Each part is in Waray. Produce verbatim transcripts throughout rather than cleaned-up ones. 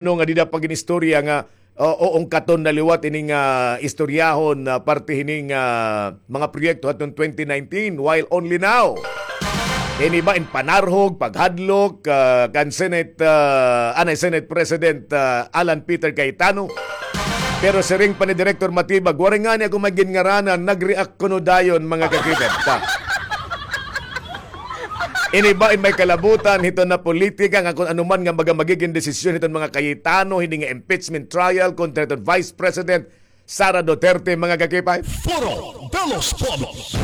Ano nga dida pa gin-istorya nga, o, o, ungkaton na liwat ini nga istoryahon na parte hini nga mga proyekto hadton twenty nineteen, while only now. Ini ba in panarhog, paghadlok, ah, kan Senate, ah, anay Senate President, ah, Alan Peter Cayetano. Pero siring pa ni Director Matibag, waray ngani ako may ginngaranan, nag-react kuno dayon, mga kakipet. Ta. Ini ba in may kalabutan hiton nga politika nga kun ano man nga baga magigin desisyon hiton mga Cayetano, hini nga impeachment trial kontra hiton Vice President Sara Duterte, mga kakipay? Foro de los Pueblos.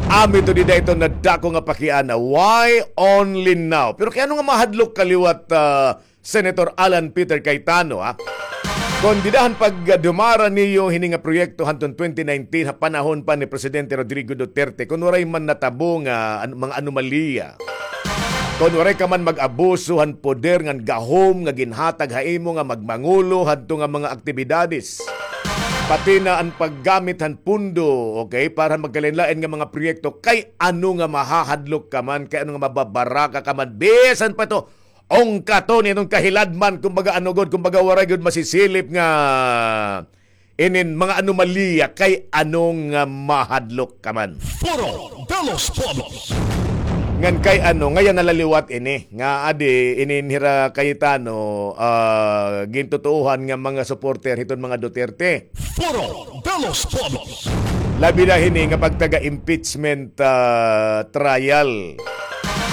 Amo ito dida ito nadako nga pakiana. Why only now? Pero kay ano nga mahadlok ka liwat, ah, Senator Alan Peter Cayetano, ha? Kon dida han pagdumara niyo hini nga proyekto hanton twenty nineteen ha panahon pa ni Presidente Rodrigo Duterte, kon waray man natabo nga an-, mga anomalya, kon waray ka man mag-abuso han poder ngan gahom nga ginhatag ha imo nga magmangulo hadto nga mga aktibidades, pati na an paggamit han pondo, okay, para magkalain-lain nga mga proyekto, kay ano nga mahahadlok ka man, kay ano nga mababaraka ka man, bisan pa ito, ungkaton iton kahiladman, kumbaga, ano gud, kumbaga, waray gud masisilip nga inin mga anomalya, kay ano nga mahadlok ka man. Foro de los Pueblos. Ngan kay ano, ngayon nalaliwat ini, nga adi, inin hira Cayetano, ah, gintutuohan nga mga supporter hiton mga Duterte. Foro de los Pueblos. Labi na hini nga pagtaga-impeachment, ah, trial.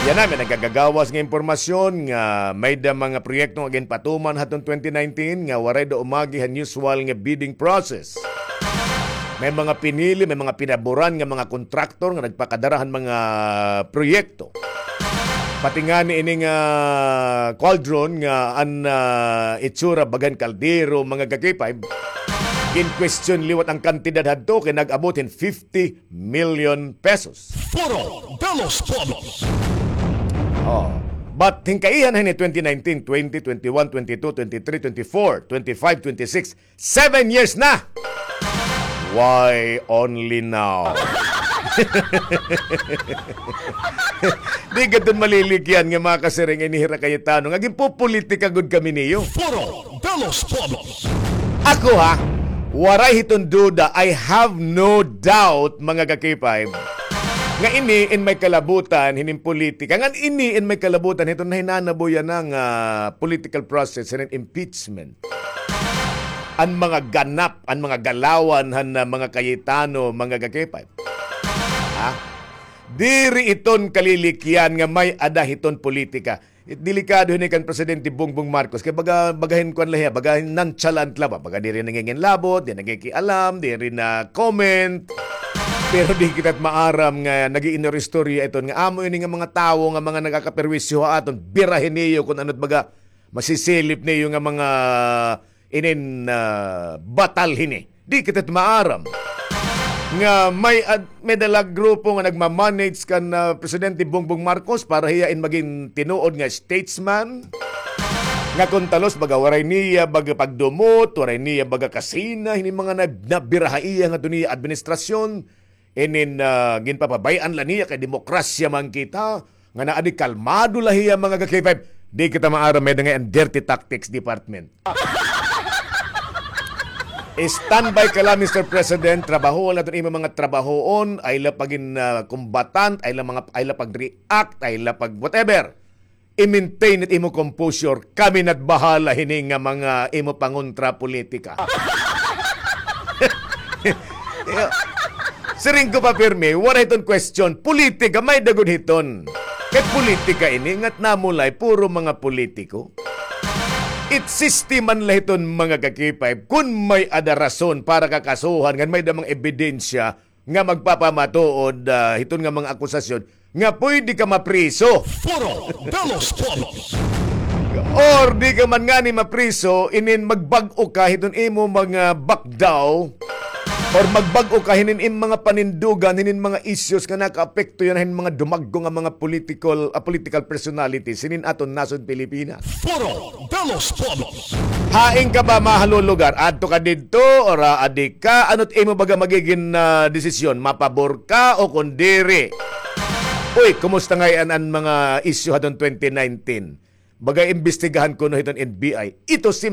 Yana, may nagagagawas nga impormasyon nga may da mga proyekto nga ginpatuman haton twenty nineteen nga waray da umagi han usual nga bidding process. May mga pinili, may mga pinaboran nga mga kontraktor nga nagpakadara han mga proyekto. Pati ngani ini nga cauldron nga an, ah, itsura bagan kaldero, mga kakipay, gin-question liwat an kantidad hadto kay nag-abot hin fifty million pesos. Foro de los Pueblos. Oh. But hin kaihan hini twenty nineteen, twenty, twenty-one, twenty-two, twenty-three, twenty-four, twenty-five, twenty-six, seven years na. Why only now? Di gad malilikian nga mga kasiring ini hira Cayetano nga ginpopolitika gud kami niyo. Foro de los Pueblos. Ako, ha, waray hiton duda, I have no doubt, mga kakipay, nga ini in may kalabutan hinin politika. Ngan ini in may kalabutan hiton nahinanabo yana nga political process hinin impeachment. An mga ganap, an mga galawan han, ah, mga Cayetano, mga kakipay. Ha? Diri iton kalilikian nga may-ada hiton politika. Delikado hini kan Presidente Bongbong Marcos. Kay baga, baga hin kuan la hiya, baga hin nonchalant la ba. Baga diri nanginginlabot, di nakikialam, diri na-comment. Pero di kita maaram nga nag-iinistorya iton nga amo ini nga mga tawo nga mga nagakaperwisyo ha aton. Birahi niyo kon ano it baga masisilip niyo nga mga inin, ah, batal hini. Di kita maaram nga may ad-, may da la grupo nga nagma-manage kan, ah, Presidente Bongbong Marcos para hiya in magin tinuod nga statesman. Nga kon talos, baga waray niya baga pagdumot, waray niya baga kasina, hini mga na-, nabira ha iya ngadto niya administrasyon. Inin, ah, ginpapabay-an la niya kay demokrasya man kita, nga naadi kalmado la hiya, mga ka-K five. Di kita maaram, may da ngay-an dirty tactics department. Standby ka la, Mister President, trabahoon la iton imo mga trabahoon, ay la pagin, ah, combatant, ay la mga, ay la pag-react, ay la pag whatever. I-maintain it imo composure. Kami na't bahala hini nga mga imo pangontra politika. Siring ko pa pirmi, waray hiton question. Politika, may-ada gud hiton. Kay politika ini, nga't namulay, puro mga politiko. It system man la hiton, mga ka-K five, kun may-ada rason para kakasuhan, ngan may-ada mga ebidensya, nga magpapamatuod, ah, hiton nga mga akusasyon nga pwede ka mapriso. Foro de los Pueblos. Or di ka man ngani mapriso, inin magbag-o ka hiton imo mga bakdaw, or magbag-o ka hinin im mga panindugan, hinin mga issues nga nakaapekto yana hin mga dumagko nga mga political, ah, political personalities hinin aton nasod Pilipinas. Foro de los Pueblos. Hain ka ba mahalulugar? Adto ka didto, or, ah, adi ka? Ano't imo baga magigin, ah, desisyon? Mapabor ka o kon diri? Uy, kumusta ngay-an an mga isyu hadton twenty nineteen? Baga imbestigahan kuno hiton N B I. Ito simple